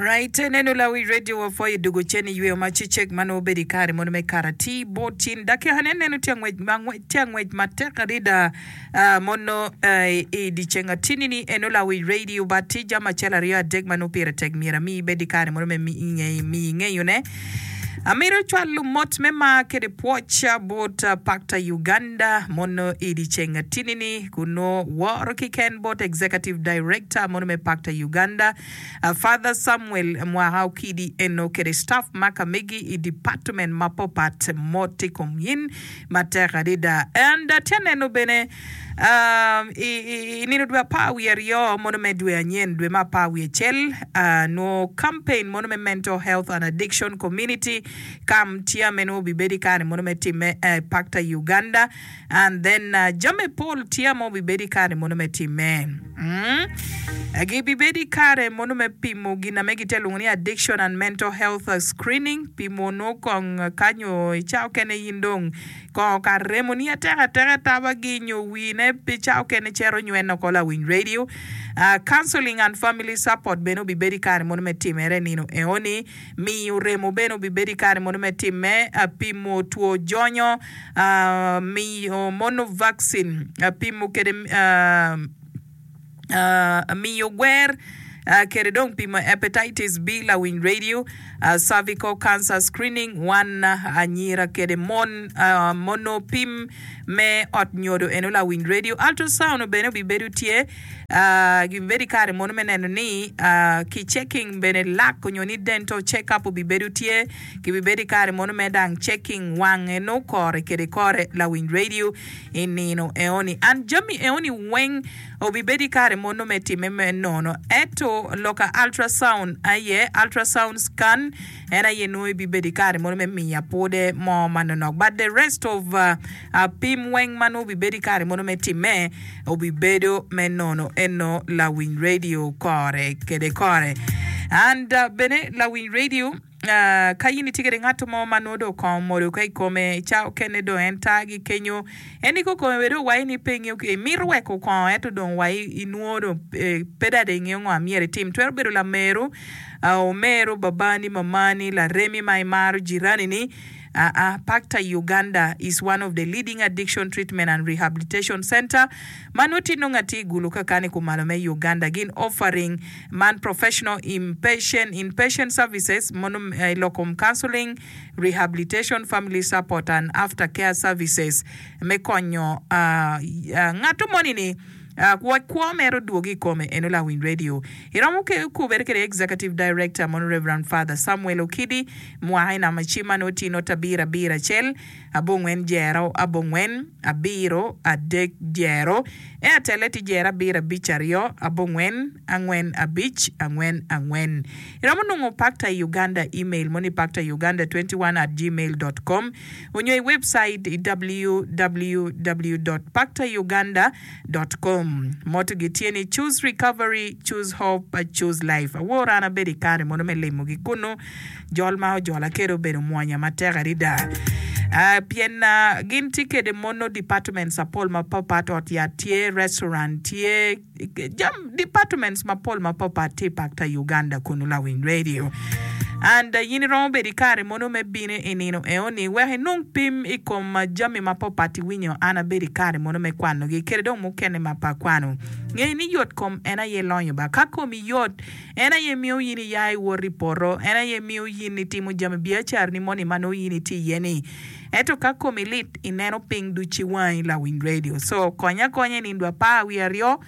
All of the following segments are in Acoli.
Alright, neno lawi radio wa pwoyo dugo cen i yweyo ma cecek ma nongo bedo i kare mono me kara ti bot cin dakika ne neno tye angwec ma tye angwec matek adada ah, mono eh, i dyeceng atini ni eno lawi radio ba tye jami acel aryo adek ma nongo pire tek myero ami ibed i kare mono me mi miyi ngeyo ne. Amito cwalo mot me mar kede pwoc bot Pakta Uganda mono i dyeceng atini ni kun nongo woro kiken bot Executive Director mono me Pakta Uganda Father Samuel Mwaka Okidi eno kede staff ma ka megi i department mapopat mot i kom yin matek adada. And atye aneno bene I nino dwe apar wiye aryo mono me dwe anyen dwe me apar wiye acel, nwo campaign mono me Mental Health and Addiction Community Camp tye ame nwo obibedo i kare mono me timme i Pakta Uganda and then jami pol tye ame obibedo i kare mono me timme. Gibibedo i kare mono me pimo gin ame gitye lwongo ni Addiction and Mental Health Screening, pimo nwo kong ka nyo i cawa okene in dong Kongo kar remoni atek ateka tabagi nyo wine pi ca okene cito nywene oko lawiny radio. Counseling and family support bene obibedo i kare mono me timere nino eoni. Miyo remo bene obibedo i kare mono me time. Pimo two jonyo, miyo mono vaccine, pimo kede miyo gwer kede dong pimo hepatitis B lawiny radio, cervical cancer screening wan anyira kede mon mono pim me ot nyodo eno lawiny radio, ultrasound bene obibedo tye gibibedo i kare mono me neno ni ki checking bene lak onyo ni dental check up obibedo tye gibibedo i kare mono me dang checking wang eno kore kede kore lawiny radio. I nino eoni, an jami eoni weng obibedo i kare mono me time me nono. Ento loka ultrasound aye, ultrasound scan, en aye nongo ibibedo i kare mono me miya pwode mo manonok. But the rest of pim weng ma nongo obibedo i kare mono me time obibedo me nono eno lawiny radio kore kede kore. And bene lawiny radio. Ka in itye kede ngat mo ma nongo dong kongo omodo ka i kome, ca okene dong en tagi kenyo, en i kokome bene dong waci ni pe ingeyo ki imito weko kongo ento dong wa inwongo dong pe dong ingeyo ngo myero itim. Twero bedo lameru, omeru, babani, mamani, laremi ma imaro, jiranini. Aa, Pakta Uganda is one of the leading addiction treatment and rehabilitation center ma nongo tye nongo atir i Gulu kakani kumalo me Uganda. Gin offering Man professional inpatient inpatient services mono i lok kom counseling, rehabilitation, family support and after care services me konyo ngato moni ni wek kwo mere odwogi i kome eno lawiny radio. Iromo kubere kede Executive Director mono Reverend Father Samuel Okidi mwaka i namba cim ma nongo tye not abiro abiro acel abongwen jero abongwen abiro adek jero Airtelle tye jero abiro abic aryo abongwen angwen abic angwen angwen. Iromo nongo Pakta i Uganda email mo ni paktauganda21 at gmail dot com onyo i webcait i www dot paktauganda dot com. Motto gi tye ni Choose Recovery, Choose Hope, Choose Life. Awor an abedo i kare mono me limogi kunu. Jol ma ojola kede obedo mwonya matek adada pien gin tye kede mono departments apol mapapat, ot yat tye, restaurant tye, jam departments mapol mapapat tye i Pakta Uganda kunu lawiny radio. And in iromo bedo i kare mono me bino i nino eoni wek inong pim i kom jami mapapat iwinyo an abedo i kare mono me kwanogi kede dong mukene ma pe akwano. Nge ni yot kom en aye lonyo ba. Ka komi yot En aye miyo in iya iwot i poto, en aye miyo in itimo jami biacarani moni ma nongo in itye iye-ni. Ento ka komi lit, ineno piny ducu i wangi lawiny radio. So, konya akonya i nindo apar wiye aryo,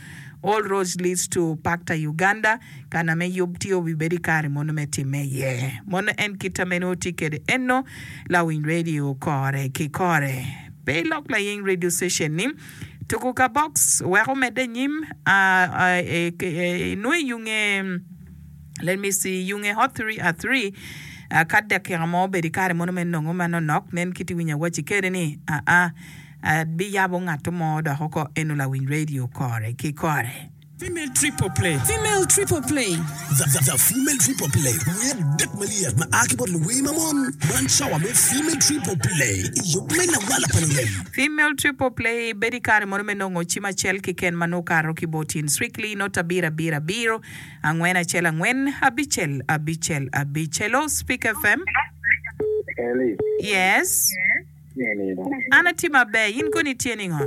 All roads leads to Pakta Uganda, kana me yub tye obibedo i kare mono me timme iye. Mono en kita me nongo tye kwede eno lawiny radio kore ki kore. Pe ilok layeng radio station ni. Tuku ka box wek omedde anyim inongo iyunge let me see iyunge hot 3 at 3 ka dakika mo obedo ikare mono me nongo manonok nen kit iwinyo awaci kede ni aa abiyabo ngat mo dok oko eno lawiny radio kore ki kore. Female Triple Play. Female Triple Play. The Female Triple Play, Wer adek malyet ma a ki bot luwer ma mon. Man cawa me Female Triple Play i yub me lawala pa lurem. Female Triple Play bedo i kare mono me nongo cim acel keken ma nongo okato ki bot in Strictly not abiro abiro abiro angwen acel angwen abicel abicel abic. Hello Speak FM. Eli. Yes. Tye nido. An atye maber, in kono itye ningo?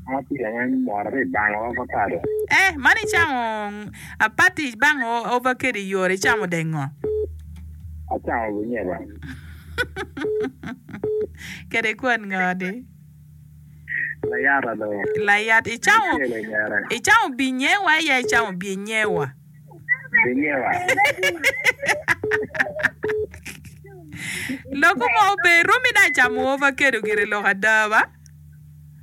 An atye aye mot atye bango avocado. Eh, man icamo apati ibango avocado i yore icamo dek ngo? Acamo bunyeba. Kede kwon ngo di? Layata do. Layat icamo Acel i ngere. icamo binyewa ya icamo byenyewa? Binyewa. Loko mo ober romi na camo ovakedo gire lok ada ba?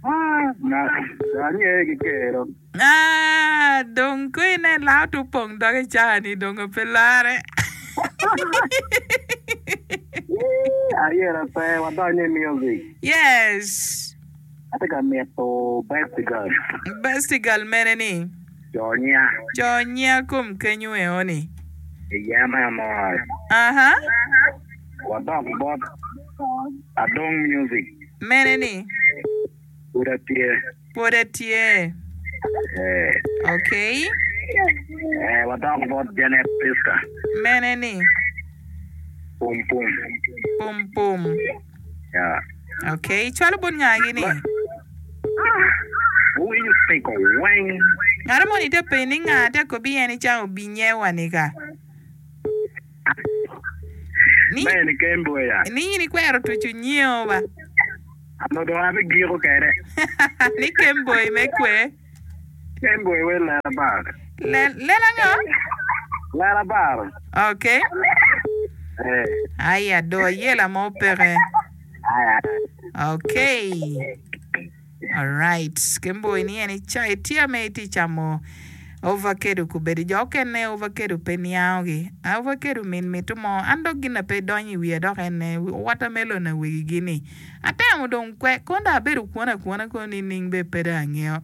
Angeyo ki kero. Ah, dong ko inen lao to pong dok i caa-ni dong pe lare. Ayera pe wadonyo i music. Yes. Atye ka mito best girl. Best girl mene ni? Co nya. Co nya kom kenyu eo ni. Iye me amor. Aha. Wadok bot Adong Music. Mene ni? Pud atye. Pud atye. Eh. Okay. Eh, wadok bot Janet Priska. Mene ni? Pum pum. Pum pum. Yeah. Okay, cwalo bot ngagi ni? Wuwinyo piko weng. Ngat moni te penyo ni nga te kobi en icamo binyewa ni ka? Ni Mene kemboya. ni in ikwero tucu nyeo ba? Ano dong abigiko kede. Ni kemboi me kwe. Kemboi we lela bar. Lel lela ngo? Lela bar. Okay. Eh. Aya do ayela mo peke. Aya. Okay. Alright. Kemboi ni en ica itye me itye camo ovakedo kubedo jo okene ovakedo pe niango gi. Ovakedo min mito mo an dok gin na pe donyo i wiya dok ene watermelon awegi gi ni. Atemo dong kwe kono dong abedo kwon akwona kono nining be pe dong angeyo.